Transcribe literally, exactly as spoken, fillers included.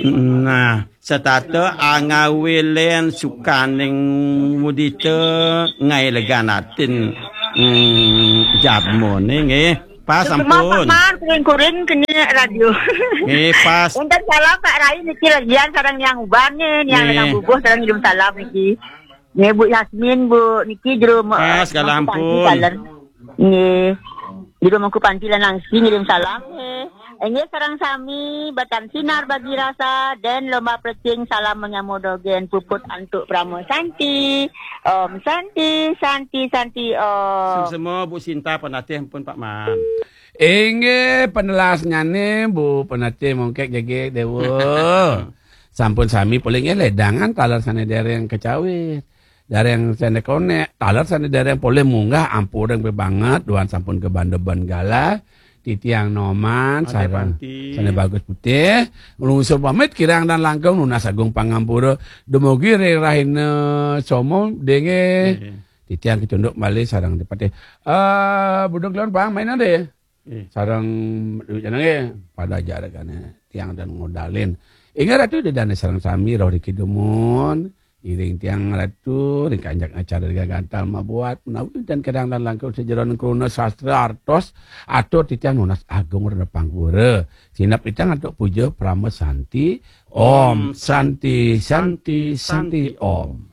Nah, setata angawilen sukaning mudita ngai legan atin, mm, jadmane nggih. Pas. Semua sampun. Pak Man, kuring-kuring kena radio. Nggih, pas. Wonten salam Pak Rai niki legian sareng Niang Uban nggih, Niang Nggih. Lengang Bubuh sareng ngirim salam niki. Nggih, Bu Yasmin, Bu niki jero me-, Pas, galah mangku panci ampun. Taler. Nggih. Jero mangku panci lan langsi ngirim salam nggih. Inggih sareng sami batan sinar bagi rasa dan lomba plecing salam menyambut dogen puput antuk Prama Santi. Om Santi, Santi, Santi Om. Suksma Bu Sinta penatih pun Pak Man. Inggih, penelasnyane Bu Penatih Mongkek Jegek Dewa. Sampun sami polih nggih ledangan taler sane dereng kecawit. Dereng sane konek, taler sane dereng polih munggah ampureng banget, duan sampun kebandeben galah. Titiang Noman, Ade sareng Panti. Sane Bagus Putih, nglungsur pamit kirang dan langkung nunas agung pangampura. Dumugi ring rahina Somo, denggih. Nggih. Titiang kecunduk malih sareng Ade Patih. Eh, Buduk Leon Bang, main ade? Nggih. Sareng duit jenenge pada jarakane tiang dan ngodalin. Inggih Ratu Ida Dane sareng sami roh riki dumun. Iring tiang Ratu ring kanjak acara gagantal mabuat menawi dan kadang dan langkung sajeroning kruna sastra artos atur titiang nunas agung rena pangpura. Sinep titiang antuk puja Prama Santi. Om Santi, Santi, Santi, Om.